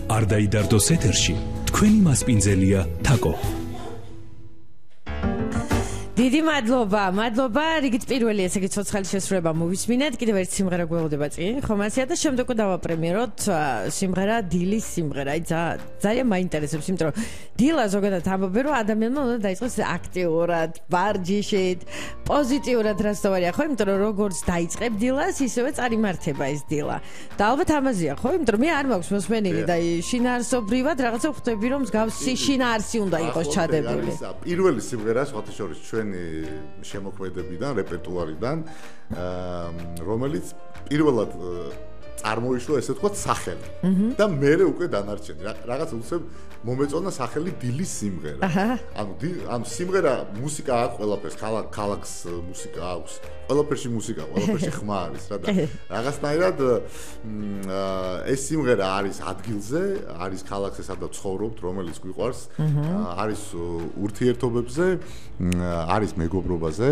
არ დაიდარდოს ეთერში თქვენი მასპინძელია თაკო. დიდი მადლობა, რიგით პირველი ესე იგი ცოცხალი შესრულება მოვისმინეთ, კიდევ ერთი სიმღერა გველოდება წინ, ხომ ასეა და შემდეგ დავაპრემიეროთ სიმღერა დილის სიმღერა. აი ძალიან მაინტერესებს, იმიტომ რომ დილა ზოგადად ამბობენ, რომ ადამიანმა უნდა დაიწყოს აქტიურად, ვარჯიშით, პოზიტიურად რასთავარია, ხო? იმიტომ რომ როგორც დაიწყებ დილას, ისევე წარიმართება ეს დილა. და ალბათ ამაზეა, ხო? იმიტომ რომ მე არ მაქვს მოსმენილი და შინაარსობრივად რაღაცა ხვდები, რომ მსგავსი შინაარსი უნდა იყოს ჩადებული. პირველი სიმღერა სხვათა შორის შემოქმედებიდან, რეპერტუარიდან, რომელიც პირველად წარმოიშვა ესე თქვა სახელი და მერე უკვე დანარჩენი. რაღაც უცებ მომეწონა სახელი დილის სიმღერა. ანუ სიმღერა მუსიკა აქვს ყველაფერს, ქალაქს მუსიკა აქვს. ყველაფერში მუსიკა, ყველაფერში ხმა არის რა და რაღაცნაირად ეს სიმღერა არის ადგილზე, არის ქალაქზე, სადაც ცხოვრობთ, რომელიც გვიყვარს, არის ურთიერთობებზე, არის მეგობრობაზე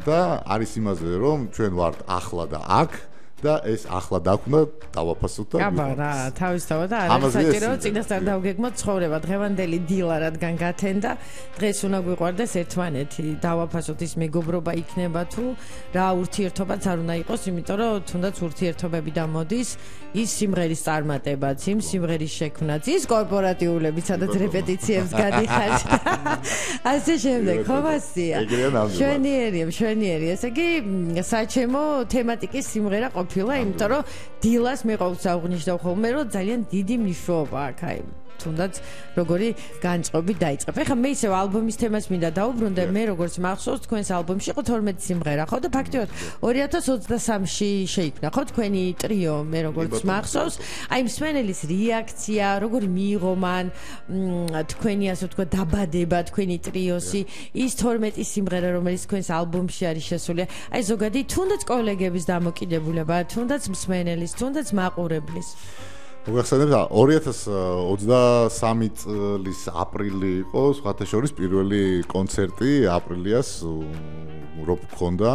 და არის იმაზე, რომ ჩვენ ვართ ახლა და აქ და ეს ახლა დაგვნა დავაფასოთ და აბა რა თავისთავად არის საჭირო წინასწარ დავგეგმოთ ცხოვრება დღევანდელი დილა რადგან გათენდა დღეს უნდა გვიყვარდეს ერთმანეთი დავაფასოთ ის მეგობრობა იქნება თუ რა ურთიერთობაც არ უნდა იყოს იმიტომ რომ თუნდაც ურთიერთობები დამოდის ის სიმღერის წარმატებაც იმ სიმღერის შექმნაც ის კორპორატიულები სადაც რეპეტიციებს გადიხართ ასე შემდეგ ხო მასია შვენიერი ესე იგი საჩემო თემატიკის სიმღერა ყოფილა, იმიტომ რომ დილას მე ყოველთვის აღვნიშნავ ხოლმე, რომ ძალიან დიდი მნიშვნელობა აქვს აი თუნდაც როგორი განწყობი დაიწყებ. ეხლა მე ისევ ალბომის თემას მინდა დაუბრუნდე, მე როგორც მახსოვს თქვენს ალბომში იყო 12 სიმღერა, ხო და ფაქტიურად 2023-ში შეიქმნა, ხო თქვენი ტრიო, მე როგორც მახსოვს, აი მსმენელის რეაქცია, როგორი მიიღო მან თქვენი ასე ვთქვა დაბადება, თქვენი ტრიოსი, ის 12 სიმღერა, რომელიც თქვენს ალბომში არის შესული, აი ზოგადი თუნდაც კოლეგების დამოკიდებულება, თუნდაც მსმენელის, თუნდაც მაყურებლის მოგახსენებთ 2023 წლის აპრილი იყო სხვათა შორის პირველი კონცერტი აპრილიას რო გქონდა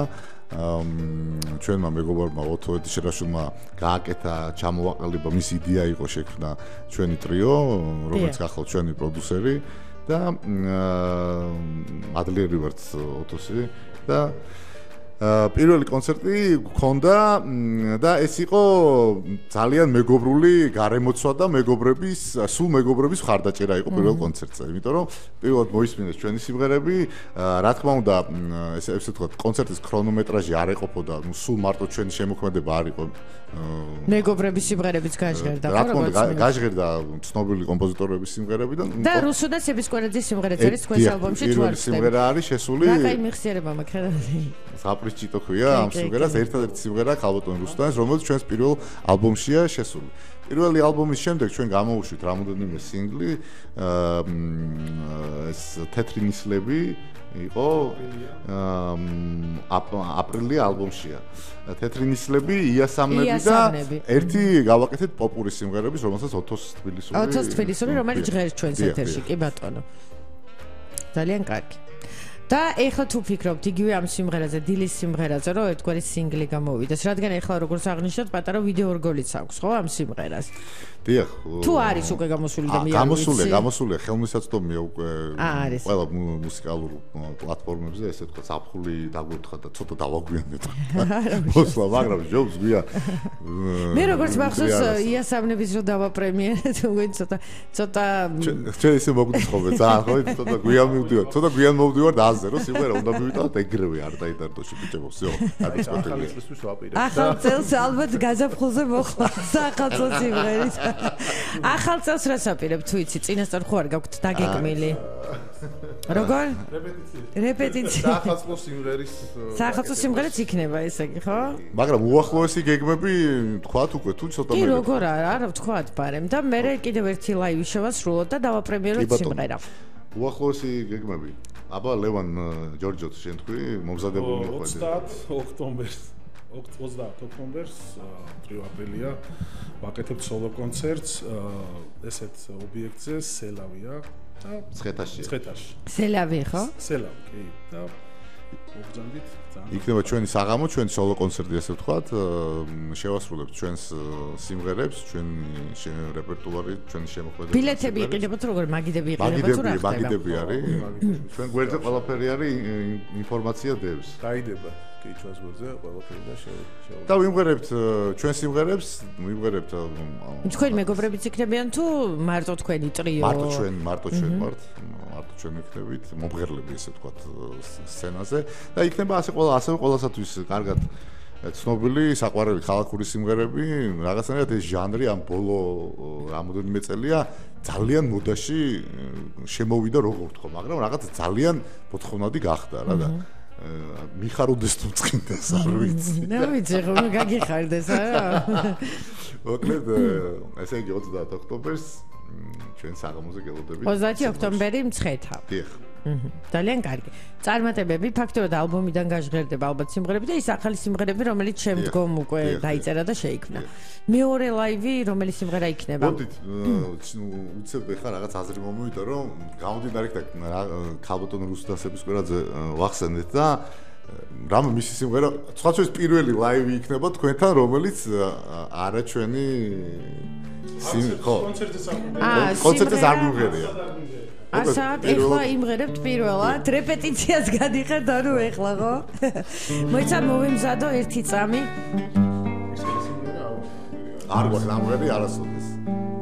ჩვენმა მეგობრებმა ოთო ედიშერაშვილმა გააკეთა ჩამოვაყალიბა მის იდეა იყო შექმნა ჩვენი ტრიო რომელიც ახლა ჩვენი პროდიუსერი და ადლიერი ვართ ოთოსი და პირველი კონცერტი გქონდა და ეს იყო ძალიან მეგობრული გარემოცვა და სულ მეგობრების მხარდაჭერა იყო პირველ კონცერტზე. იმიტომ რომ პირველად მოისმინეს ჩვენი სიმღერები, რა თქმა უნდა, ესე ვთქვათ, კონცერტის ქრონომეტრაჟი არ ეყოფოდა, სულ მარტო ჩვენი შემოქმედება არ იყო. მეგობრების სიმღერებიც გაჟღერდა, რა თქმა უნდა, გაჟღერდა ცნობილი კომპოზიტორების სიმღერებიდან. და რუსუდა სებისკვერაძის სიმღერაც არის თქვენს ალბომში თუ არ პირველი სიმღერა არის შესული. რა კაი მიხსიერება მაქვს რა. საპრიჩიტო ქვია ამ სიმღერას ერთადერთი სიმღერა ქალბატონ რუსტანის რომელიც ჩვენს პირველ ალბომშია შესული. პირველი ალბომის შემდეგ ჩვენ გამოვუშვით რამოდენიმე სინგლი ეს თეთრი ნისლები იყო აპრილი ალბომშია. თეთრი ნისლები იასამნები და ერთი გავაკეთეთ პოპური სიმღერების რომელსაც ოთოს თბილისური რომელიც ჟღერს ჩვენს ეთერში კი ბატონო. ძალიან კარგი. და ეხლა თუ ფიქრობთ იგივე ამ სიმღერაზე, დილის სიმღერაზე, რომ ერთგვარი სინგლი გამოვიდეს, რადგან ეხლა როგორც აღნიშნოთ, პატარა ვიდეო რგოლიც აქვს, ხო, ამ სიმღერას? დიახ. თუ არის უკვე გამოსული და მე არ ვიცი. გამოსულია, ხელმისაწვდომია უკვე ყველა მუსიკალურ პლატფორმებზე, ესე თქვა, საფხული დაგვერთხა და ცოტა დავაგვიანეთ. მოსვლა, მაგრამ ჯობს გვია. მე როგორც მახსოვს, იასამნების რო დავაპრემიერეთ, უკვე ცოტა ჩვენ ისე მოგდიხობე, ძალიან ხო, ცოტა გვიან მივდივარ, ცოტა გვიან მოვდივარ და აზერო სიმღერა უნდა მივიტანოთ ეგრევე არ დაიდარდოში ბიჭებო, всё. ახალი წლისთვის ვაპირებ. ახალ წელს ალბათ გაზაფხულზე მოხდა სახალხო სიმღერით. ახალ წელს რას აპირებთ თუ იცი წინასწარ ხო არ გაქვთ დაგეგმილი როგორ რეპეტიცია სახალხო სიმღერაც იქნება ესე იგი ხო მაგრამ უახლოესი გეგმები თქვათ უკვე თუ ცოტა კი როგორ არა ვთქვათ ბარემ და მე კიდევ ერთი ლაივი შევასრულოთ და დავაპრემიეროთ სიმღერა უახლოესი გეგმები აბა ლევან ჯორჯოც შენ თქვი მომზადებული იყო 30 ოქტომბერს 30 ოქტომბერს 3 აპრილია ვაკეთებ სოლო კონცერტს ესეთ ობიექტზე სელავია და ცხეთაში სელავი ხო? სელავი კი და მოგზანდით იქნება ჩვენი საღამო, ჩვენი სოლო კონცერტი ასე ვთქვათ, შევასრულებთ ჩვენს სიმღერებს, ჩვენი რეპერტუარი, ჩვენი შემოქმედება. ბილეთები იყიდებათ როგორ მაგიდები იყიდებათ თუ რა ხდება? მაგიდები არის. ჩვენ გვერდზე ყველაფერი არის, ინფორმაცია დევს. დაიდება კი ჩვენს გვერდზე ყველაფერი და და ვიმღერებთ ჩვენ სიმღერებს, ვიმღერებთ თქვენი მეგობრებიც იქნებიან თუ მარტო თქვენი ტრიო? მარტო ჩვენ ვიქნებით მომღერლები ესე ვთქვათ სცენაზე და იქნება ასევე ყველასათვის კარგად ცნობილი საყვარელი ხალხური სიმღერები, რაღაცნაირად ეს ჟანრი ამ ბოლო რამოდენიმე წელია ძალიან მოდაში შემოვიდა როგორ ვთქვა, მაგრამ რაღაც ძალიან მოთხოვნადი გახდა რა და მიხაროდეს თუ წინდეს არ ვიცი. ნუ ვიცი რომ გაგიხარდეს არა. მოკლედ ესე იგი 30 ოქტომბერს ჩვენ საღამოზე გელოდებით. 30 ოქტომბერი მცხეთა. დიახ. ძალიან კარგი. წარმატებები, ფაქტობრივად ალბომიდან გაჟღერდება ალბათ სიმღერები და ის ახალი სიმღერები, რომელიც შემდგომ უკვე დაიწერა და შეიქმნა. მეორე ლაივი, რომელიც სიმღერა იქნება? მოდით, უცებ ხა რაღაც აზრი მომივიდა, რომ გამომდინარე და ქალბატონ რუსტასების კვირაძე ვახსენეთ და რამ მისი სიმღერა, სხვათვის პირველი ლაივი იქნება თქვენთან, რომელიც არა ჩვენი კონცერტზე არ მივღერია. ასად ეხლა იმღერებთ პირველად რეპეტიციას გადიხართ ანუ ეხლა ხო? მოიცა მოვიმზადო ერთი წამი. არ გვაქვს ამღერი არასოდეს.